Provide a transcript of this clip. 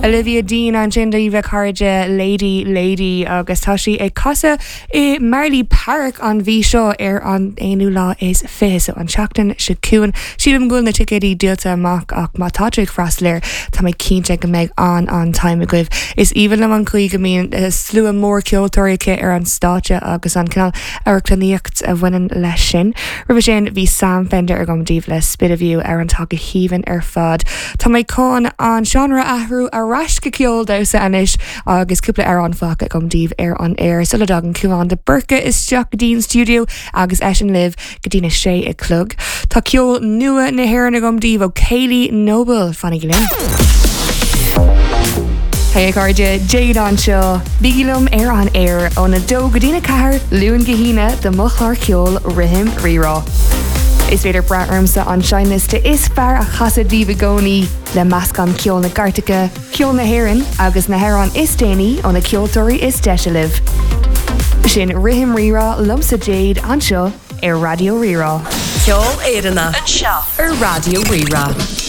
Olivia Dean ansin daoibh a chairde, Lady Lady agus tá sí ag casadh i Marlay Park an mhí seo ar an aonú lá is 20, so an tseachtain seo chugainn. Sílim go bhfuil na ticéidí díolta amach ach má tá tú ag freastal air, tá mé cinnte go mbeidh an-an-time agaibh. Is aoibhinn liom an chaoi go mbíonn slua mór ceoltóirí aici ar an stáitse agus an cineál amharclannaíocht a bhaineann leis sin. Roimhe sin bhí Sam Fender agam daoibh le Spit of You, amhrán atá go haoibhinn ar fad. Tá mé chun an seánra a athrú ar ais go ceol damhsa anois agus cúpla amhrán fágtha agam daoibh ar an aer sula dtagann Cúán de Búrca isteach go dtí an stiúideo agus eisean libh go dtí na sé a chlog. Tá ceol nua na hÉireann agam daoibh ó Kayleigh Noble. Fanaigí linn. Hey a chairde, Jade anseo. Bígí liom ar an aer óna 2 go dtína 4, Luan go hAoine do mo chlár ceoil Rithim Rírá. Is féidir brath ormsa an seinnliosta is fearr a chasadh daoibh i gcónaí, le meascán ceol na gcairteacha, ceol na hÉireann agus na hamhráin is déanaí ó na ceoltóirí is deise libh. Sin Rithim Rírá liomsa Jade anseo ar Raidió Rí-Rá. Ceol Éireannach anseo ar Raidió Rí-Rá.